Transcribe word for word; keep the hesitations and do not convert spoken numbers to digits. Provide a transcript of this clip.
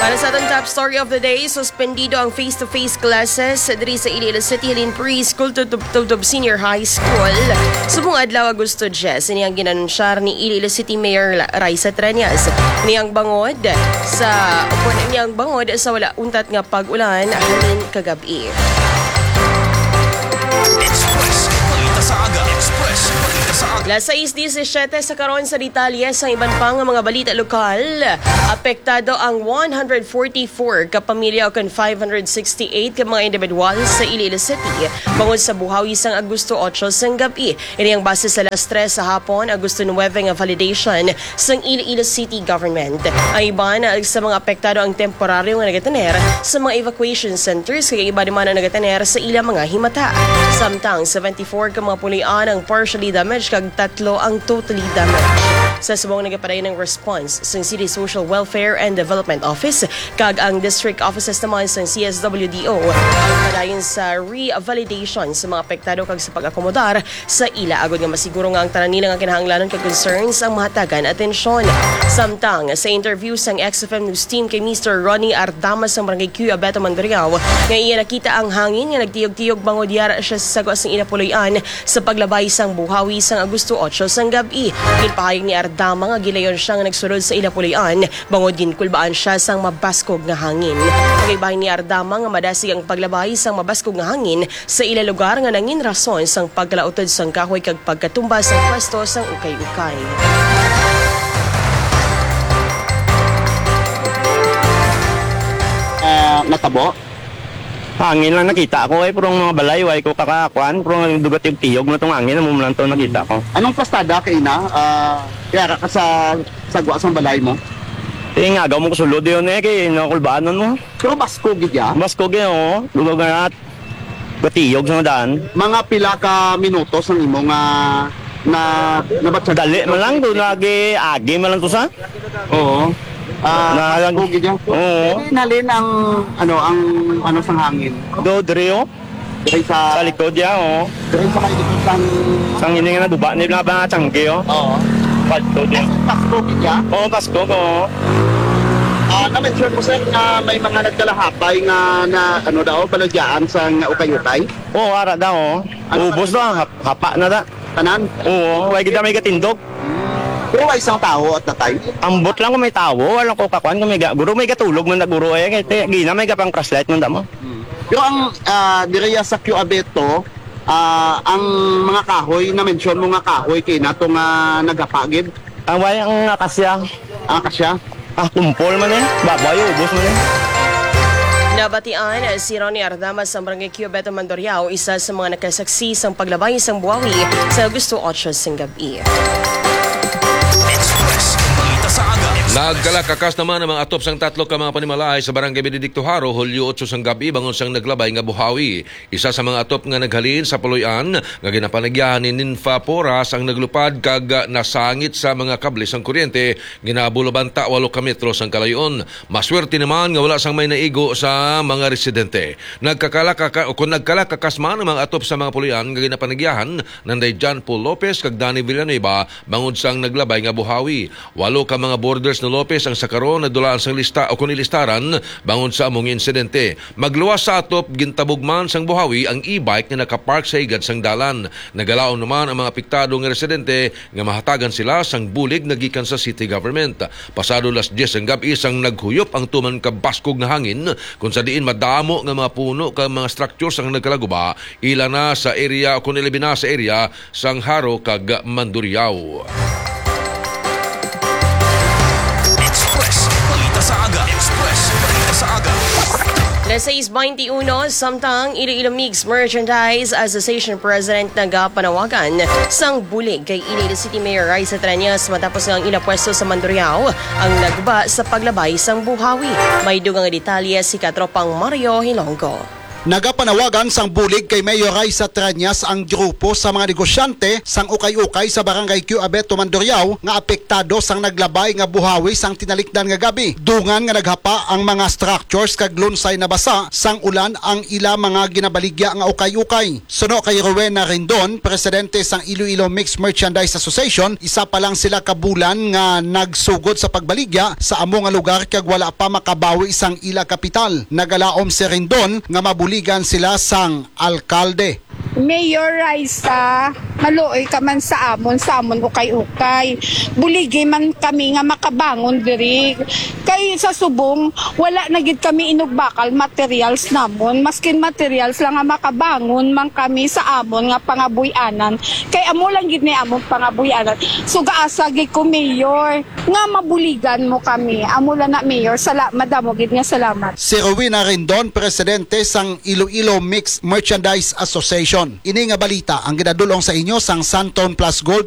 Para sa atong top story of the day, suspendido ang face-to-face classes diri sa Iloilo City halin preschool tubtob, tubtob senior high school. Subong adlaw, Agosto diyes, ini ang ginanunsyar ni Iloilo City Mayor La-, Raisa Treñas. Ini ang bangod sa, ini ang bangod sa wala untat nga pag-ulan halin kagab-i. Express Balita sa Aga. Express Balita sa Aga. Las sais diecisiete sa karon sa detalye sang iban pa nga mga balita lokal. Apektado ang one hundred forty-four ka pamilya ukon five hundred sixty-eight ka mga individual sa Iloilo City bangod sa buhawi sang Agosto otso sang gab-i. Ini ang base sa las tres sa hapon, Agosto nuebe nga validation sang Iloilo City Government. Ang iban sa mga apektado ang temporaryo nga nagatener sa mga evacuation centers, kag ang iban naman ang nagatener sa ila mga himata. Samtang seventy-four ka mga puloy-an ang partially damaged kag tatlo ang totally damaged. Sa subong nagapadayon ang response sang City Social Welfare and Development Office kag ang district offices naman sang C S W D O ang padayon sa revalidation sa mga apektado kag sa pag-akomodar sa ila, agod nga masiguro nga ang tanan nila nga kinahanglanon kag concerns ang mahatagan atensyon. Samtang sa interview sang X F M News Team kay Mister Ronnie Ardama sang Barangay Q, Abeto, Mandurriao, nga iya nakita ang hangin nga nagtiyog-tiyog bangod yara siya sa sagwa sang ila puloy-an sa paglabay sang buhawi sang Agosto otso sang gab-i. Ginpahayag ni Ardama nga gilayon siya nga nagsulod sa ila puloy-an bangod ginkulbaan siya sang mabaskog nga hangin. Pagkaibahin ni Ardama nga madasig ang paglabay sang mabaskog nga hangin sa ila lugar nga nangin rason sang pagkalautod sang kahoy kag pagkatumba sang pwesto sang ukay-ukay. Ah, natabo. Hangin lang nakita ko eh, pero ang mga balay, way ko kakakuan, pero ang dugat yung tiyog na tong hangin, amo lang to nakita ko. Anong pastada kay na? Ah, kaya ka sa sagwa sang balay mo? Eh, nga, mo ko sulod yun eh, kay nakulbaanan mo. Pero baskog gid ya? Baskog eh, oo. Lugaw nga at gatiyog sa daan. Mga pila ka minutos ang imo nga na nabatsyag? Dali man lang, doon lagi, agi man lang to sa. Oo. Ah, na lang. Baskog gid ya? Oo. Pwede nalin ang, ano, ang, ano, sang hangin? Do, diri, oh. Diri sa, sa likod ya, oh. Diri sa may likod sang, sang ini nga naguba ni mga tiyangge, oh. Oo. Pasko din. Pasko gid ya? Oo, Pasko, oo. Ah, na-mention mo, sir, na may mga nagkalahapay nga na, ano daw, balagyaan sa nga ukay-ukay? Oo, ara daw, oh. Ano? Ubos na, hap- hapa na da. Tanan? Oo, way gid may gatindog. Pero way isang tawo at natay? Ambot lang kung may tawo, wala ko kakuan kung may ga- guro, may gatulog man na guro eh, kay te- gina may gapang flashlight man damo. Pero ang, ah, diri sa Q Abeto, ah, ang mga kahoy, na-mention mo nga kahoy kay nato nga nagapagid. Ang way ang akasya. Ang akasya? Ah, kumpol man eh. Baboy, ubos man eh. Nabatian si Ronnie Ardama sa Barangay Q, Abeto, Mandurriao, isa sa mga nakasaksi sang paglabay sang buhawi sa Agosto otso sang gab-i. Express Balita sa Aga. Nagkalakakas naman ang mga atop sang tatlo ka mga panimalay sa Barangay Benedicto Jaro, Hulyo otso sang gab-i, bangon sang naglabay nga buhawi. Isa sa mga atop nga naghalin sa puloy-an nga ginapanagyahan ni Ninfa Porras ang naglupad kag nasangit sa mga kable sang kuryente, ginabulabanta walo ka metro sang kalayon. Maswerte naman nga wala sang may naigo sa mga residente. Nagkakalakaka-, o kung nagkalakakas man ang mga atop sa mga puloy-an nga ginapanagyahan nanday John Paul Lopez kag Danny Villanueva bangod sang naglabay nga buhawi. Walo ka mga boarders ni Lopez ang sa karon nadulaan sang lista o kung ilistaran bangod sa among insidente. Magluwas sa atop, gintabog man sang buhawi ang e-bike nga nakapark sa higad sang dalan. Nagalaom naman ang mga apektado nga residente nga mahatagan sila sang bulig nga gikan sa city government. Pasado las dyes ang gab-i sang naghuyop ang tuman ka baskog nga hangin, kung sa diin madamo nga mga puno kag mga structures ang nagkalaguba, ila na sa area, kung ilabi na sa area sang Jaro kag Mandurriao. Express Balita sa Aga. Express Balita sa Aga. Las sais beintiuno, samtang Iloilo Mix Merchandise Association President nagapanawagan sang bulig kay Iloilo City Mayor Raisa Treñas matapos nga ang ila pwesto sa Mandurriao ang nagba sa paglabay sang buhawi. May dugang nga detalye si Katropang Mario Hilonggo. Nagapanawagan sang bulig kay Mayor Raisa Treñas ang grupo sa mga negosyante sang ukay-ukay sa Barangay Q Abeto, Mandurriao nga apektado sang naglabay nga buhawi sang tinalikdan nga gabi. Dungan nga naghapa ang mga structures kag lunsay nabasa sang ulan ang ila mga ginabaligya nga ukay-ukay. Suno kay Rowena Rendon, presidente sang Iloilo Mixed Merchandise Association, isa pa lang sila ka bulan nga nagsugod sa pagbaligya sa amo nga lugar kag wala pa makabawi sang ila kapital. Nagalaom si Rendon nga mabuligan sila sang alkalde. Mayor Raisa, maluoy ka man sa amon, sa amon ukay-ukay. Buligi man kami nga makabangon diri. Kay sa subong, wala na gid kami inugbakal materials namon. Maskin materials lang nga makabangon man kami sa amon nga pangabuy-anan. Kay amo lang gid ni amon pangabuy-anan. So gaasa gid ko, Mayor, nga mabuligan mo kami. Amo lang na, Mayor. Sala, madamo gid nga salamat. Si Rowena Rendon, presidente sang Iloilo Mixed Merchandise Association. Ini nga balita ang ginadul-ong sa inyo sang Santon Plus Gold